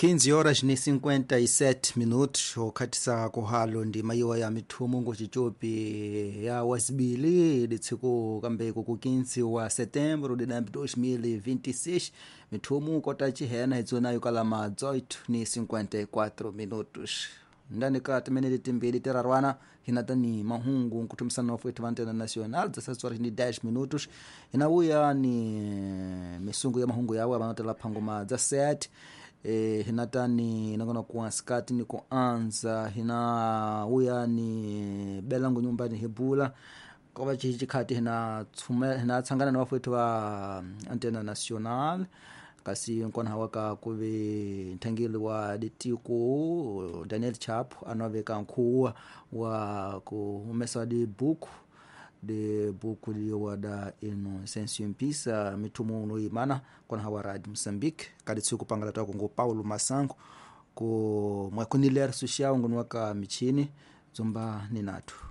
15 horas ni 57 minutos okhatisa kuhalo ndima iwa ya mithumu ngochichopi ya wasibili litsiku kambeko ku 15 wa setembro de 2026 mithumu kota chihena itsonayo kalama 18 ni 54 minutos ndani ka timinete timbili tirarwana hina tani mahungu nkuthumisana wa va nacional 17 horas ni 10 minutos hina vuya ni misungu ya mahungu yawe vanotela phangoma dza 7 hina tani nakona kuansikati ni kuanza hina uya ni belangu nyumbani hebula kova chikhati hina hina tsangana na vafowethu va antena national kasi nkona waka kuve nthangeli wa ditiko Daniel Chap anaveka nkhuwa wa ku humesa dibuku dibuku liwa da Inocêncio Mpisa mithumu uno imana kona hawa Radio Moçambique kadi tsiku pangala tako ngo Paulo Masango ku mwakuniler social ngunu waka michini dzomba ni nathu.